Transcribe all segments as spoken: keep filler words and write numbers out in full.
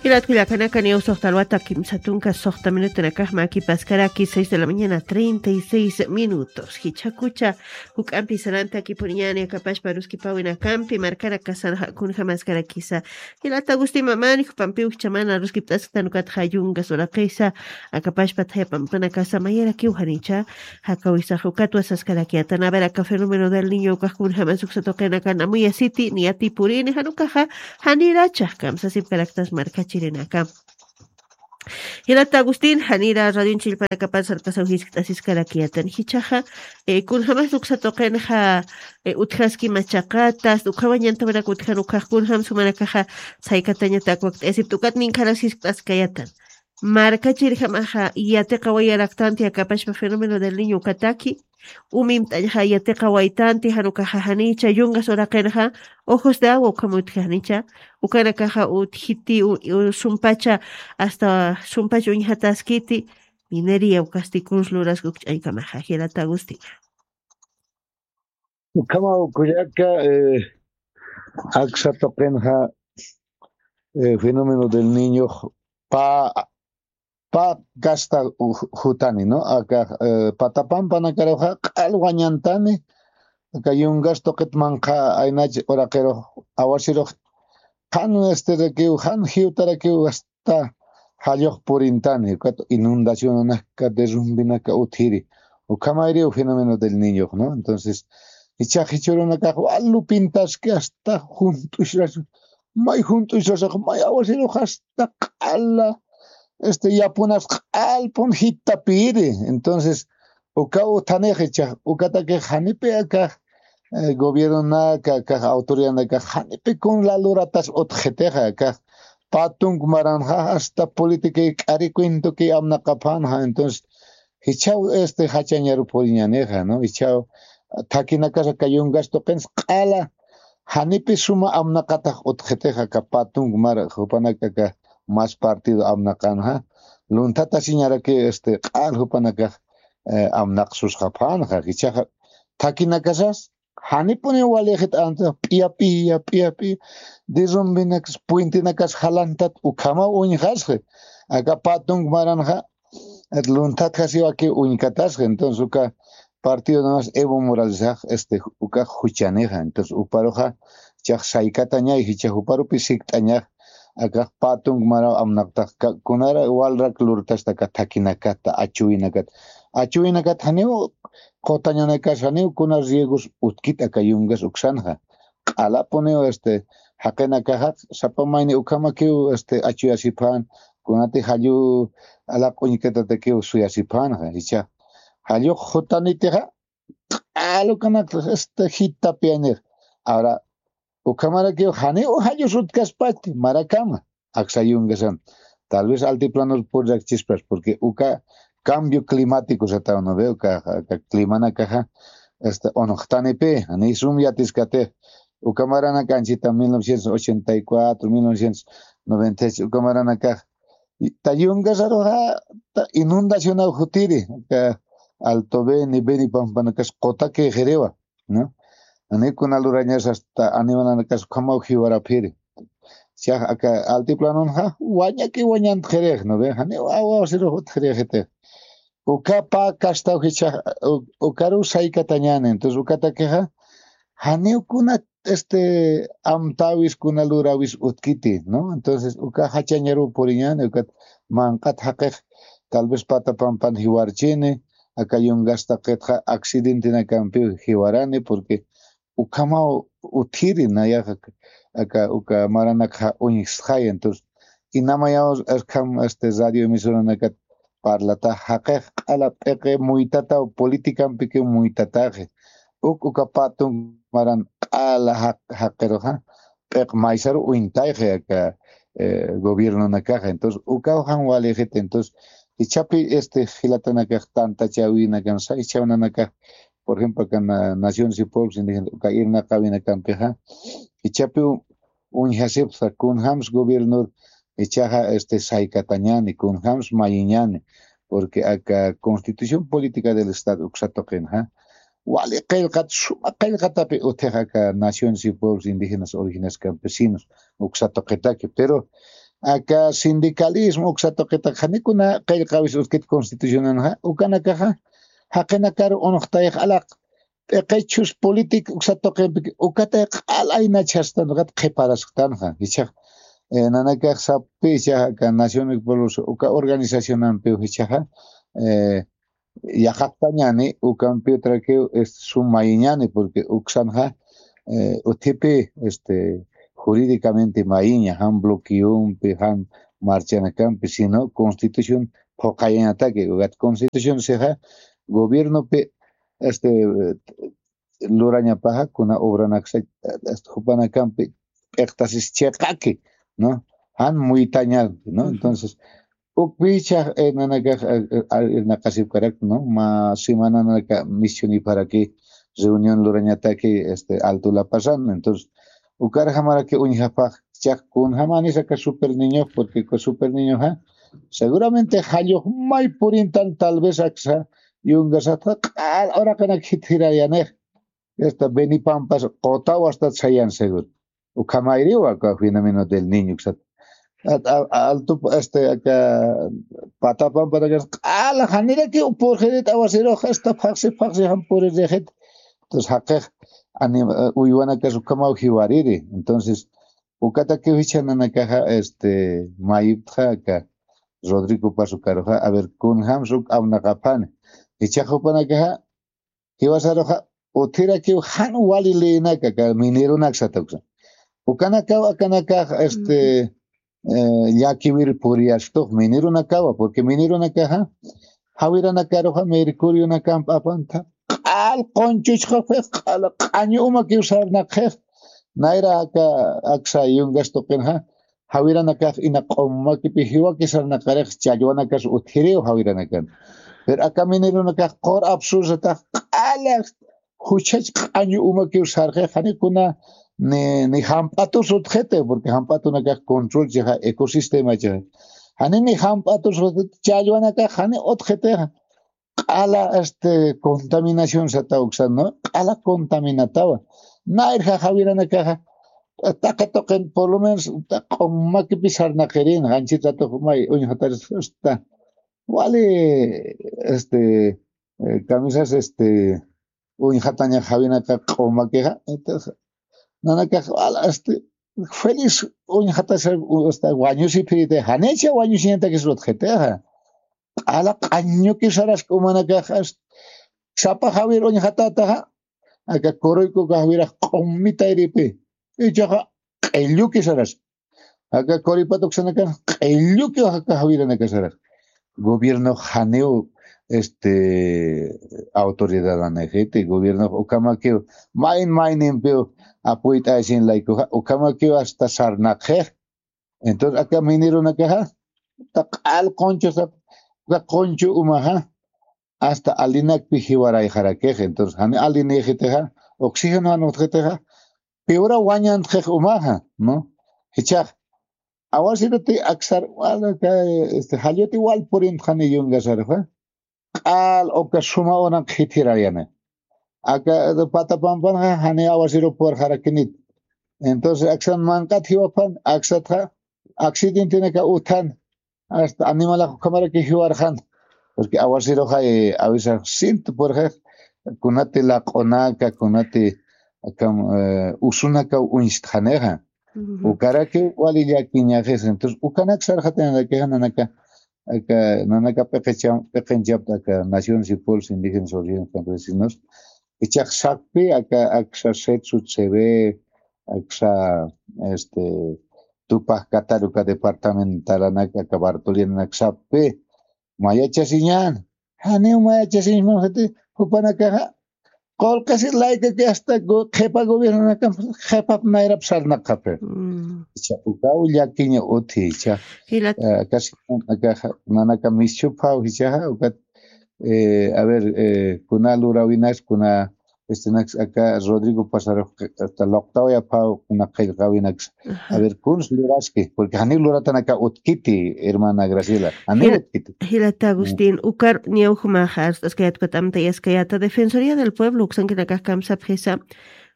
Jilat kullakanaka, niya usuxta alwata kimsa tunka suxta minutunakax makipaskaraki, seis de la mañana, treinta y seis minutos. Jichhakucha juk'ampi sarantakipuriñani akapashpa aruskipawinakampi, markanakasan kunjamaskarakisa. Jilata Agustín Mamani, jupampiw jichhamana aruskipt'asktan ukatxa yungas uraqisa, akapashpa thaya pampanakasa mayarakiw janicha jakawisax ukatwa saskarakiyatan. A ver, aka fenómeno del niño ukax kunjamas uksa tuqinakan amuyasiti, niyatipurini, jan ukaxa janirachax kamsasipkaraktas markachirinaka. Jilata Agustín, janira radion chillpanakapan sarkasaw jiskt'asiskarakiyatan. Jichhaxa, eh, kunjamas uksa tuqinxa, eh, utjaski machaqatas, ukhamañantawinak utjan ukax kunjam sumanakaxa saykatañatak wakt'ayasipta ukat ninkharas jiskt'askayatan. Markachirjamaxa yatiqawayaraktanti akapashpa fenómeno del niño ukataki, umimt'añxa yatiqawaytanti, jan ukaxa janicha yungas uraqinxa, ojos de agua ukham utji janicha, ukanakaxa utjiti, u- u- sumpacha, hasta sumpacha uñjataskiti, minería ukasti kunsa luraski uk ch'añkamaxa, jilata Agustín. Ukhamaw kullaka, eh, aksa tuqinxa, eh, fenómeno del niñox pa pa kasta u- jutani, ¿no? Aka, eh, patapampanakaruxa q'al wañantani, aka yungas tuqit manqha aynach uraqirux, awasirux jan, este, rakiw, jan jiwtarakiw hasta jallux purintani, ukat inundacionanaka, derrumbinaka utjiri. Ukhamayriw fenómeno del niñox, ¿no? Entonces, jichhax jichhürunakax wal lupintaski hasta junt'ushrasu, may junt'ushrasax, may awasirux hasta q'ala, este, yapunas q'alpun jittapiri. Entonces, uka uthanix jichhax, ukatakix janipi akax, eh, gobiernonaka, akax autoridadnakax janipi kun laluratas utjxitixa, akax pä tunk maranxa hasta politiki k'ari cuentoki amnaqapxänxa. Entonces, jichhaw, este, jachañaru puriñänixa, ¿no? Jichhaw, thakinakasa aka yungas tuqins q'ala, janipi suma amnaqatax utjxitixa aka pä tunk mar, jupanaka aka más partido amnaqänxa, lunthatasiñaraki, este, q'al jupanakax, eh, amnaqsusxapxänxa, jichhaxa, thakinakasas, janipuniw walixit antes, p'iya, p'iya, p'iya, p'iya, derrumbinakas, puentinakas jalantat, ukhamaw uñjasxi. Aka pä tunk maranxa, lunthatjasiwaki uñkatasxi. Entonces, uka partido namas Evo Moralesax, este, uka juchanixa. Entonces, uparuxa, jichhax saykatañay, jichhax uparupi sikt'añax, akax pä tunk maraw amnaqtax, ka- kunara walrak lurtasta aka thakinakata, achuwinakat. Achuwinakat janiw qutañanakas, janiw kuna riegos utkit aka yungas uksanxa. Q'alapuniw, este, jaqinakaxa, sapa mayni ukhamakiw, este, achuyasipxän, kunati jallu alaq uñkatatakiw suyasipxänxa, jichha. Jallux jutanitixa, q'al ukanak, este, jittapiyanix. Ahora, ukhamarakiw janiw jallus utkaspati, marakama, aksa yungasan. Tal vez altiplanor purrakchispas, porque uka cambio climático sataw, ¿no ve? Uka, uka climanakaxa, este, unuqtanipi, janiy sum yatiskatix. Uka maranak anchita mil novecientos ochenta y cuatro, mil novecientos noventa y seis, uka maranakax, ta yungasaruxa, ta inundacionaw jutiri, aka Alto Beni, Beni pampanakas qutaki jiriwa, ¿no? Janiw kuna lurañas hasta animalanakas ukhamaw jiwarapxiri. Jichhax aka altiplanonxa, wañaki wañantxirix, ¿no ve? Janiw awasirux utjirixitix. Uka pä kastaw jichhax, u- ukaruw saykatañäni. Entonces, ukatakixa, janiw kuna, este, amtäwis, kuna luräwis utkiti, ¿no? Entonces, uka jachañaruw puriñäni, ukat manq'at jaqix, tal vez pata pampan jiwarchini, aka yungas taqitxa accidentenakampiw jiwarani, porque ukhamaw utjiri nayaxa, aka, uka maranakxa uñjstxay. Entonces, inamayaw, akham, este, radio emisoranakat parlata, jaqix q'ala p'iqi muytataw, politicampiki muytataxi. Uk, uka pä tunk maran q'ala jaq-, jaqiruxa, p'iq maysaru uñtayxi aka, eh, gobiernonakaxa. Entonces, ukaw jan walixit, entonces, jichhapi, este, jilatanakax tantachäwinakan, saychhawnanakax, por ejemplo, aka na- Naciones y Pueblos Indígenas, uka irnaqäwinakampixa, jichhapiw uñjasipxta, kunjams gobiernor, jichhaxa, este, saykatañäni, kunjams mayiñäni, porque aka Constitución Política del Estado uksa tuqinxa, wali qillqat, suma qillqatapi utjix aka Naciones y Pueblos Indígenas Originarios Campesinos, uksa tuqitaki, pero aka sindicalismo uksa tuqitax janikuna qillqawis utkit constitucionanxa, ukanakaxa jaqinakar unuqtayx alaq p'iqichus política uksa tuqimpi ukatay q'al aynachastan ukat qhiparasktanxa. Jichhax, eh, nanakax sappi jichhaxa aka Naciones y Pueblos uka organizacionampiw jichhaxa, eh, yaqaqtañani, ukampi utrakiw, este, sum mayiñani, porque uksanxa, eh, uthipi, este, jurídicamente mayiña, jan bloqueompi, jan marchanakampi, sino constitución phuqayañataki, ukat constitución sixa gobiernopi, este, lurañapaxa, kuna obranaksa, este, jupanakampi p'iqtasis chiqaki, ¿no? Jan muytaña, ¿no? Entonces, ukpicha, eh, nanakax, eh, eh, irnaqasipkarak, ¿no? Mä semana nanaka mischuniparaki reunión lurañataki, este, Alto La Pazan. Entonces, ukar jamaraki uñjapax, chaq kunjamanis aka Super Niño, porque aka Super Niñoxa, seguramente jallux may purintan tal vez aksa, yungasatxa, q'al uraqanak jitjirayanix. Esta Beni Pampas qutaw astat sayan seguro. Ukhamayriw aka fenómeno del Niño uksat. At-, a-, a-, altu, este, aka Pata Pampa takas q'ala janiraki purxirit awasirux, esta phaxsi, phaxsi jan puririxit. Entonces, jaqix anim-, eh, uywanakas ukhamaw jiwariri. Entonces, ukatakiw jichha nanakaxa, este, mayiptxa aka Rodrigo Paz ukaruxa, a ver, kunjams uk apnaqapxani. Jichhax jupanakaxa, jiwasaruxa, uthirakiw jan wali leynaka, aka mineronaksa tuksa. Ukanakaw, akanakax, este, eh, llakiwir puriyachtux mineronakawa, porque mineronakaxa, jawiranakaruxa, mercurionakamp apanta, q'al qunchuchxapix, q'al q'añu umakiw sarnaqxix, nayra aka, aksa yungas tuqinxa, jawiranakax ina q'ummakipi jiwaki sarnaqarix challwanakas utjiriw jawiranakan. Pero aka mineronakax qur apsursatax q'ala juchach q'añu umakiw sarxix, jani kuna ni, ni jamp'atus utjiti, porque jamp'atunakax control chixa, ecosistema chixa. Jani ni jamp'atus utjiti, challwanakax jani utjitixa. Q'ala, este, contaminación sataw uksan, ¿no? Q'ala contaminatawa. Nayrja jawiranakaxa, taqi tuqin, por lo menos, ta-, q'ummakipi sarnaqirin, qanchit ratux may uñjataris, hasta, wali, este, eh, camisas, este, uñjataña jawinaka q'ummakixa. Entonces, nanakax, wala, este, feliz uñjatas, hasta wañusipiriti, janicha wañusiñatakis utjitixa. Q'ala q'añuki sarask umanakax, sapa jawir uñjatataxa, aka Coruyco jawirax q'ummi tayripi, ichaxa q'illuki sarask. Aka Coripata uksanakax q'illuki aka jawiranakax sarask. Gobiernox janiw, este, autoridadanixiti, gobiernox ukhamakiw, mayn maynimpiw apuyt'aysin laykuxa, ukhamakiw hasta sarnaqxix. Entonces, aka mineronakaxa, ta q'al qunchusa, ta qunchu umaxa, hasta alinakpi jiwarayxarakix. Entonces, jani alinïxitixa, oxígeno jan utjitixa, piwra wañantxix umaxa, ¿no? Jichhax, awasiruti aksar, wal, aka, este, jalluti wal purintxani yungasaruxa, q'al uka suma unak jitjirayani. Aka Patapampanxa jani awasiru purxarakinit. Entonces, aksan manq'at jiwapan, aksatxa, accidentenaka uthan, hasta animalax ukhamaraki jiwarxan. Porque awasiruxa, eh, a veces sinti purxix, kunati laq'unaka, kunati akam, eh, usunakaw uñstxanixa. Ujú. Ukaraki wali llakiñaxis. Entonces, ukanak sarxatinarakixa nanaka, aka, nanaka p'iqicham-, p'iqinchapta aka Naciones y Pueblos Indígenas Originarios Campesinos, ichax sakpi aka, aksa Setsu Tsebe, aksa, este, Tupac Katari uka departamentalanak, aka Bartoliananak sakpi, mayachasiñan, janiw mayachasiñmamsati, jupanakaxa, qullqisi laykaki hasta go-, qhipa gobiernonakam, qhipap nayrap sarnaqapi. Mm. Icha, ukaw llakiña utji, icha. Jilat- Eh, casi, aka, nanaka mischuphaw, ichaxa, ukat, eh, a ver, eh, kuna luräwinas, kuna, este, naks, aka Rodrigo Pazarux, hasta luqtawayaphaw, kuna qillqäwinaks. Ajá. A ver, kuns luraski, porque janiw luratanaka utkiti, hermana Graciela. Janiw utkiti. Jilata Agustín, ukar niyaw jumaxa, arst'askayät ukat amtayaskayäta, Defensoría del Pueblo uksankinakax kamsapxisa,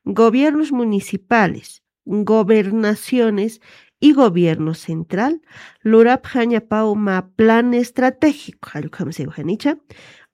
gobiernos municipales, gobernaciones y gobierno central lurapxañapaw mä plan estratégico, jallukhamasiw janicha,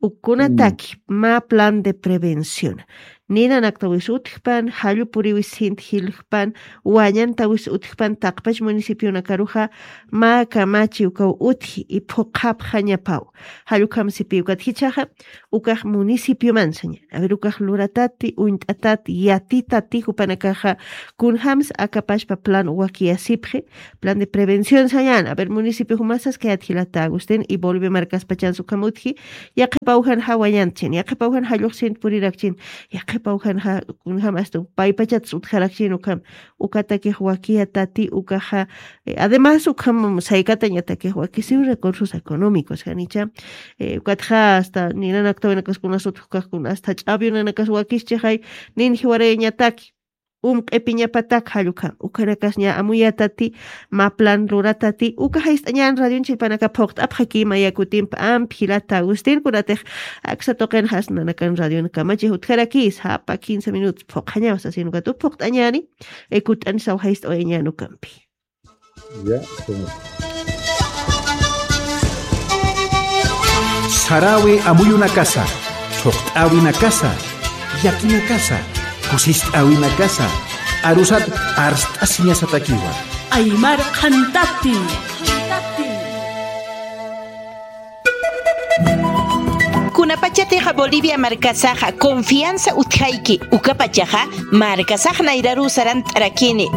ukunataki mä plan de prevención. Ninanaktawis utjpan, jallupuriwis sint jilujpan, wañantawis utjpan, taqpach municipionakaruxa mä kamachi ukaw utji y phuqhapxañapaw. Jallukhamasipiw ukat jichhaxa, ukax municipioman sañäni. A ver, ukax luratati, uñt'atati, yatitati, jupanakaxa kunjams akapachpa plan wakiyasipxi, plan de prevención sañäni. A ver, municipio jumasas kayat jilata Agustín y Bolivia markaspachans ukham utji, yaqhipaw jan jawañantchin, yaqhipaw jan jalluxsint purirakchin, yaqhipaw jan ja-, kunjam hasta paypachats utjarakchin ukham, ukatakix wakiyatati, ukaxa, eh, además ukham saykatañatakix wakisiw recursos económicos, janicha, eh, ukatxa hasta ninanaktawinakas kunas utjkax kunas hasta ch'awinanakas wakischixay, nin jiwarayañataki, um q'ipiñapatak jallukam, ukanakas ña amuyatati, mä plan luratati, uka jayst'añan radion chillpanaka phuqt'apxaki maya kutimp amp jilata Agustín, kunatix aksa tuqin jasnanakan radion kamachix utjaraki, sapa quince minutos phuqhañaw sasin ukat phuqt'añäni, eh, kut'anisaw jayst'awayañän ukampi. Ya, señor. Saräwi amuyunakasa, thuqt'äwinakasa, llakinakasa, kusist'äwinakasa, arusat arst'asiñasatakiwa. Aymar qhantati. Kunapachatixa Bolivia markasaxa confianza utjayki, ukapachaxa markasax nayraruw sarant'arakini.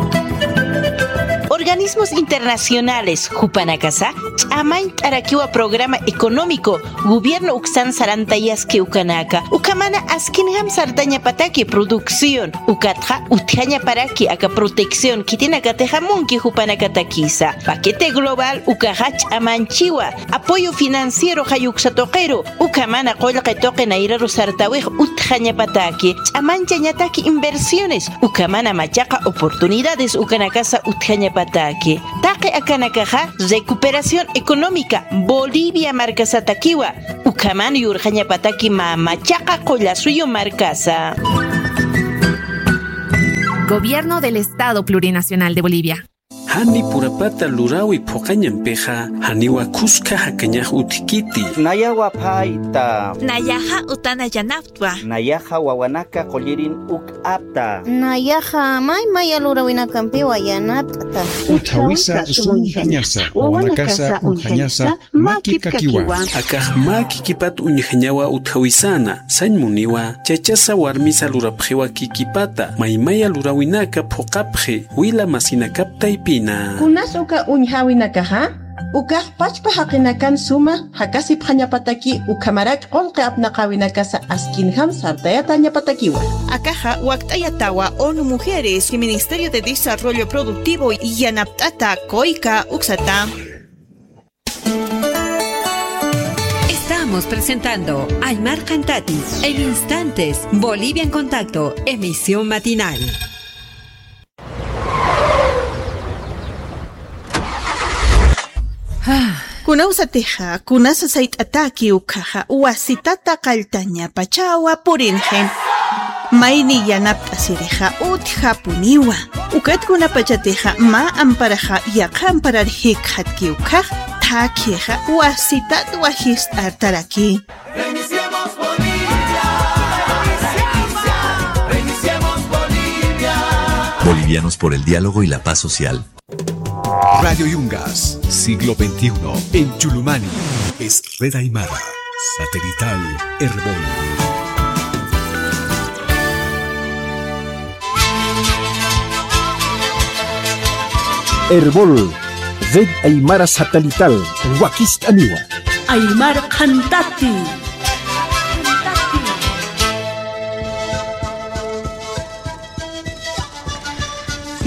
Organismos internacionales jupanakasa ch'amañt'arakiwa programa económico gobierno uksan sarantayaski ukanaka, ukhamana askinjam sartañapataki producción, ukatxa utjañaparaki aka protección khitinakatixa munki jupanakatakisa. Paquete global ukaxa ch'amanchiwa, apoyo financiero jayuksa tuqiru, ukhamana qullqi tuqi nayraru sartawix utjañapataki, ch'amanchañataki inversiones, ukhamana machaqa oportunidades ukanakasa utjañapataki. Taqi akanakaxa recuperación económica Bolivia markasatakiwa, ukhaman yurxañapataki mä machaqa qullasuyu markasa. Gobierno del Estado Plurinacional de Bolivia. Jani purapata luräwi phuqañampixa, janiwa khuska jakañax utjkiti. Nayawa phayta. Nayaxa utana yanaptwa. Nayaxa wawanaka qullirin uk'apta. Nayaxa may maya luräwinakampiwa yanapt'ta. Utjawisa sum uñjañasa, wawanakasa uñjañasa, makipkakiwa. Akax mä kikipat uñjañawa utjawisana, sañ muniwa, chachasa warmisa lurapxiwa kikipata, maymaya luräwinaka phuqapxi, wila masinakap taypina. Kunas uka uñjäwinakaxa, ukax pachpa jaqinakan suma jakasipxañapataki ukhamarak qullqi apnaqäwinakasa askinjam sartayatañapatakiwa. Akaxa wakt'ayatawa ONU Mujeres y Ministerio de Desarrollo Productivo yanapt'ata kuyka uksata. Estamos presentando Aymar Qhantati en instantes, Bolivia en Contacto, emisión matinal. Kunawsatixa, kunasa sayt'ataki ukhaxa, wasitata qalltañapachawa purinxin. Mayni yanapt'asirixa utjapuniwa. Ukat kunapachatixa mä amparaxa yaqha amparar jikxatki ukhax, thakhixa wasitat wajist'artaraki. Reiniciemos Bolivia. Reiniciemos Bolivia. Bolivianos por el diálogo y la paz social. Radio Yungas, siglo veintiuno, en Chulumani, es Red Aymara, satelital Erbol. Erbol, Red Aymara Satelital, wakist'aniwa. Aymar Qhantati.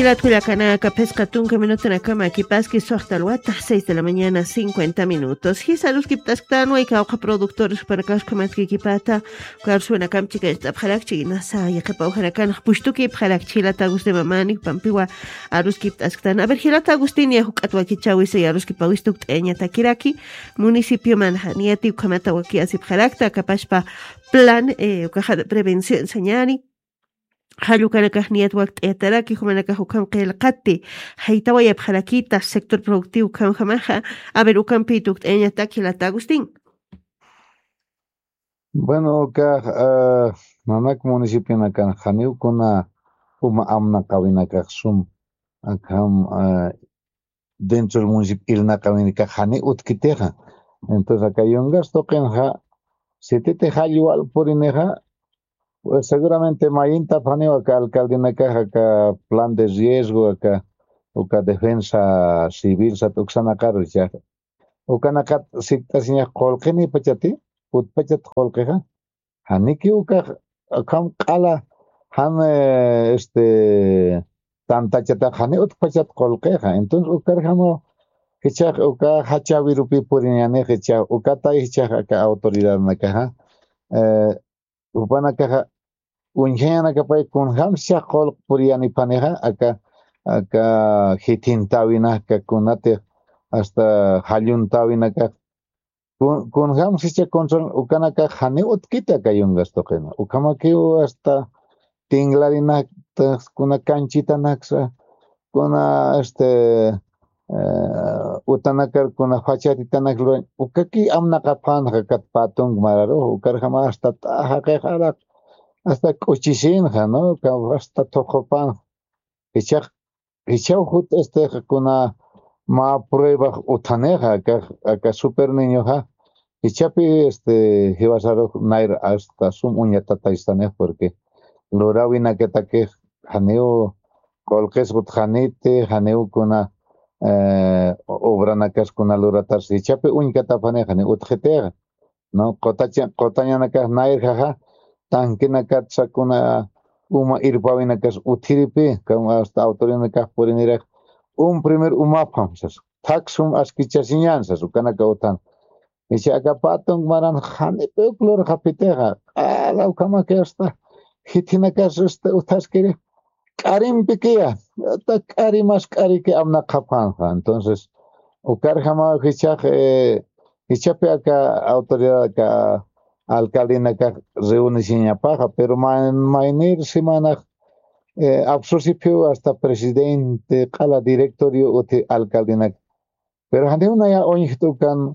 Jilat kullakanaka, phisqa tunka minutunakama kipaski, suxta alwata, seis de la mañana, cincuenta minutos. Jisa aruskipt'asktanwa, kawkha productores jupanakax ukhamat kikipata, uka arsuwinakam chikañcht'apxarakchi, nasa yaqhipaw janakan pushtukipxarakchi, jilata Agustín Mamani, jupampiwa aruskipt'asktan. A ver, jilata Agustín, ya juk'at wakichäwisa, ya aruskipäwis tukt'ayañatakiraki, municipiomanxa, niyati ukhamata wakiyasipxarakta, akapachpa plan, eh, ukaxa prevención sañäni, Jallukanakax niyat wakt'ayataraki jumanakax ukham qillqati. Jaytawayapxarakita sector productivo ukhamjamaxa. A ver, ukampi tukt'ayañataki jilata Agustín. Bueno, ukax nanak municipionakan janiw kuna uma amnaqawinakax sum akham dentro del municipio irnaqawinakax jani utkitixa. Entonces aka yungas tuqinxa sititi jallwal purinixa, pues seguramente mayintapxaniw aka alcaldenakax aka plan de riesgo aka uka defensa civil sat uksanaqaru ichaxa. Ukanaqat sikt'asiñax qullqinipachati, utpachat qullqixa. Janiki ukax akham q'ala jan este tantachatax jani utpachat qullqixa. Entonces ukarjamaw jichhax uka jachawirupi puriñanix jichhax ukatay jichhax aka autoridadnakaxa jupanakaxa uñjañanakapay kunjamsicha qullq puriyanipanixa aka aka jithintäwinaka kunatix hasta jalluntawinakax kunjamsi icha control ukanakax janiw utkiti aka yungas tuqina ukhamakiw hasta tinglarinakta kuna kanchitanaksa kuna este utanakar kuna fachatitanak lurañ ukaki amnaqapxänxa kat patunk mararux ukarjama hasta t'ajaqix araq hasta k'uchisinxa no hasta thuqhupanxa. Jichax jichaw jut este kuna mä pruebax uthanixa aka aka super niñoxa jichapi este jiwasarux nayr hasta sum uñatataystanix porque lurawinakatakix janiw qullqis utxaniti janiw kuna obranakas kuna luratarsi jichapi uñkatapxanix janiw utxitixa no qutañanakax nayrjaxa tanquenakatsa kuna uma irpawinakas uthiripi hasta autoridadnakax purinirax un primer umapxam sas thak sum askichasiñän sas ukanaka uthan. Icha aka patunk maran janipi uk lurxapitixa q'ala ukhamaki hasta jithinakas este uthaskiri k'arimpikiya ata k'ari mas k'ariki amnaqapxänxa. Entonces ukarjamaw jichhax jichhapi aka autoridad aka alcaldenakax reunisiñapaxa pero maynir semanax apsusiphiw hasta presidente q'ala directorio uthi alcaldenak. Pero janiw naya uñjt'ukan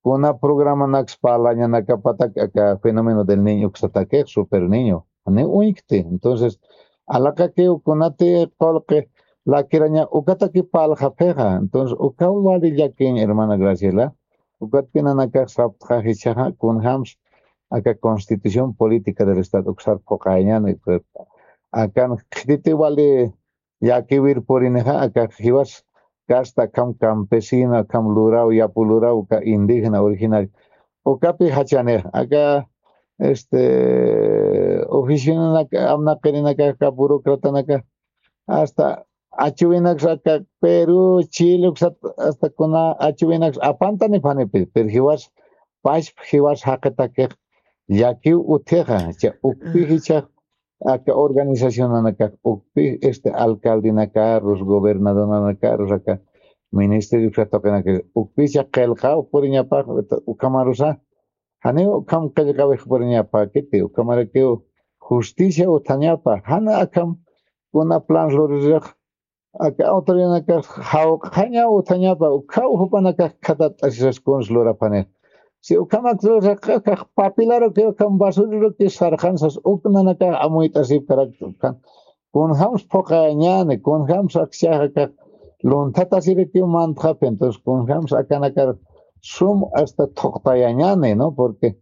kuna programanaks parlañanakapatak aka fenómeno del niño uksatakix super niño janiw uñjkti. Entonces alaqakiw kunati qullqi lakiraña ukataki parlxapxixa. Entonces ukaw wali llakiñ hermana Graciela ukatpinanakax saptxa jichhaxa kunjams aka constitución política del estado uksar phuqayañani akan khititi wali llakiwir purinixa aka jiwas kasta akham campesino akham luraw yapu luraw uka indígena originario ukapi jachanix aka este oficionanak amnaqirinaka aka burocratanaka hasta achuwinaks aka Perú Chile uksat hasta kuna achuwinaks apantanipxanipi pero jiwas pachpa jiwas jaqitakix llakiw utjixa cha ukpi jichax aka organizacionanakax ukpi este alcaldenakax gobernadornakax aka ministerio uksat tuqinakax ukpicha qillqaw puriñapax ukhamarusa janiw ukham qillqawix puriñapäkiti ukhamarakiw justicia utjañapa jan akham kuna plan lurirux aka autoridadnakax jawq'añaw utjañapa ukhaw jupanakax khatat'asisas kuns luraphanix. Si ukhamak lurxaqa ukax papilaruki ukham basuriruki sarxansas uk nanakax amuyt'asipkarakta ukhan kunjams phuqayañäni kunjams akchax akax lunthatasirikiw mantxaphi entonces kunjams akanakar sum hasta thuqtayañäni no porque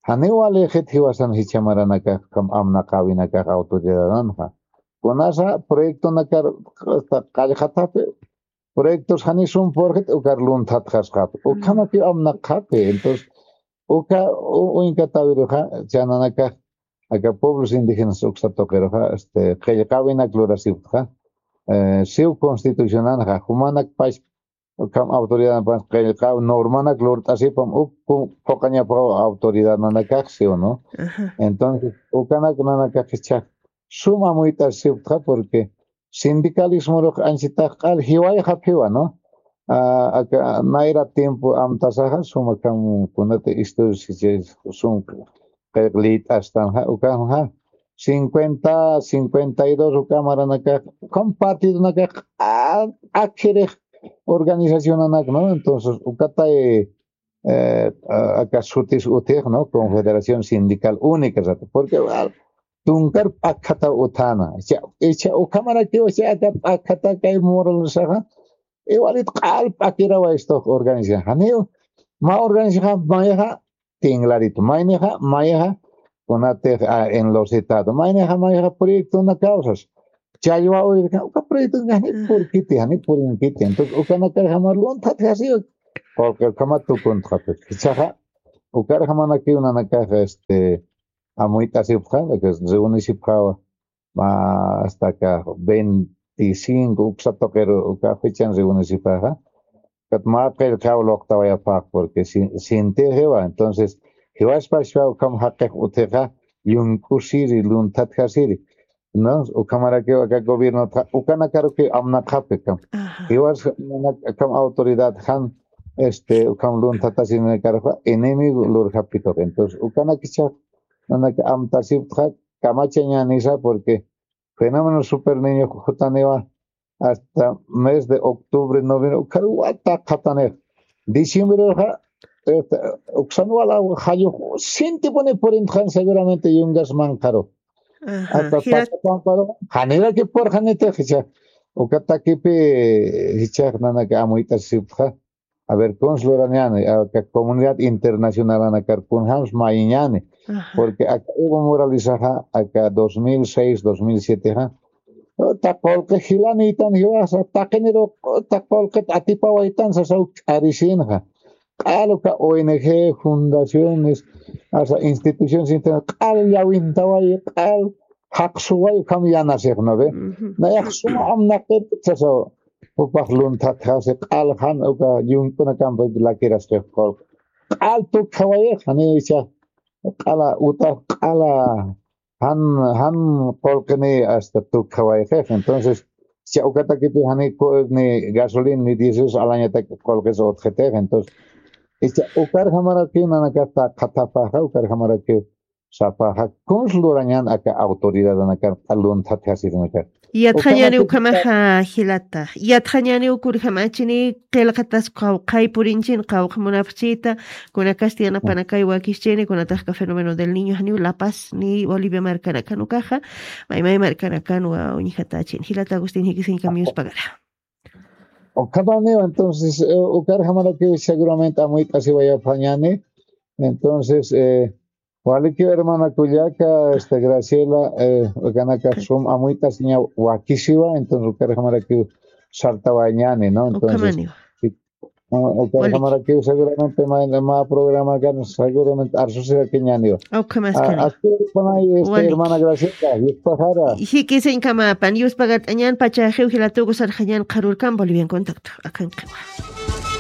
janiw walïxit jiwasan jichha maranakax ukham amnaqäwinakax autoridadanxa kunasa proyectonakar hasta qallqataphi proyectos jani sum purxit ukar lunthatxasxaphi ukhamakiw amnaqxaphi entonces uka uñkatäwiruxa chananakax aka pueblos indígenas uksa tuqiruxa este qillqäwinak lurasiptxa siw constitucionanxa jumanak pachpa ukham autoridadnapas qillqaw normanak lurt'asipam uk phuqañapaw autoridadnanakax siw no. Entonces ukanak nanakax jichhax sum amuyt'asiptxa porque sindicalismorux anchitax q'al jiwayxaphiwa no. Aka nayra tiempo amtasaxa sum akham kunati estudios sum qillq liyt'astanxa ukamxa cincuenta, cincuenta y dos uka maranakax, ukham partidonakax, a-, akirix organizacionanak, ¿no? Entonces, ukatay, eh, a-, aka sutis utix, ¿no? Confederación Sindical Única, sata. Porque, ah, tunkar p'akjata uthana. Icha, icha ukhamarakiw, icha aka p'akjata kay mural saxa, igualit q'al p'akirawa esto organización. Janiw, mä organización mayxa, tinglarit maynixa, mayxa, kunatix, ah, enlocetado. Maynixa, mayxa proyecto una causas. Challwa urirka, uka proyecto jani purkiti, jani purinkiti. Entonces, ukanakar jamar lunthat jasiwa. Porque ukhama tukuntxapit. Ichaxa, ukar jamanakiw nanakax, este, amuyt'asipxa, lo que es reuniripxawa. Ma, hasta acá, veinticinco, uksa tuqiru, uka fechan reunisipaxa. Kat mä qillqaw luqtawayapaq, porque sin, sinti jiwa. Entonces, jiwaspachpa ukham jaqix utjixa, yunk'usiri, lunthatjasiri. ¿No? Ukhamarakiw aka gobierno, ukanakarukiw amnaqapi kam. Ajá. Jiwas, ukham autoridad jan, este, ukham lunthatasirinakaruxa, enemigo lurjapituq. Entonces, ukanakicha, nanaka amtasipxa, kamachañänisa, porque fenómeno super niño jutaniwa hasta mes de octubre, noviembre, ukaru wata qhatanix. Diciembrexa, este, uksan wala jallux, sintipuni purintxan seguramente yungas manqaru. Ajá, hasta jilat- Pachapamparu, janiraki purxanitix jicha. Uka takipi jichax nanaka amuyt'asipxa. A ver, kuns lurañäni, aka comunidad internacionalanakar kunjams mayiñäni, ajá, porque aka Evo Moralesaxa, aka dos mil seis, dos mil siete, ja, ta qullqi jilanïtan jiwasa, taqiniru ta qullqit atipawaytan sasaw k'arisinxa. Q'al uka O N G, fundaciones, asa instituciones, q'al llawintawayi, q'al jaqsuway ukham yanasix, ¿no ve? Ujú. Nayax suma amnaqit sasaw, jupax lunthatjasi q'al jan uka yunk'unakampi lakirasqix qullqi. Q'al tukjawayix, jani icha q'ala uta q'ala jan, jan qullqini hasta tukjawayxix. Entonces, cha ukatakipi jani ku-, ni gasolina ni diésel alañatak qullqis utjitix. Entonces, icha ukar jamarakiw nanakata qhatapaxa, ukar jamarakiw sapaxa, kuns lurañän aka autoridadanakan, q'al lunthatjasirinakar. Yatxañäni ukhamaxa jilata. Yatxañäni ukur jamachini, qillqatas qawqhay purinchini, qawqha munapxchita, kunakasti yanapanakay wakischini, kunatax ka fenómeno del niño janiw La Paz ni Bolivia markanakan ukaxa, maymay markanakan wa uñjatachin. Jilata Agustín, jikisiñkam yuspagara. Ukhamaniw, entonces, eh, ukar jamarakiw seguramente amuyt'asiwayapxañäni. Entonces, eh, walikiw hermana kullaka, este, Graciela, eh, ukanaka sum amuyt'asiña wakisiwa, entonces ukar jamarakiw sartawañäni, ¿no? Entonces, ukhamaniw. Sí, ah, ukar jamarakiw seguramente ma, ma programa kan seguramente arsusirakiñäniwa. Ukhamaskani. Ah, así, bueno, este, hermana Graciela, yuspagara. Jikisiñkamapan, yuspagart'añän pachaxiw jilatuku sarxañän qharürkam Bolivian Contacto, akanqiwa.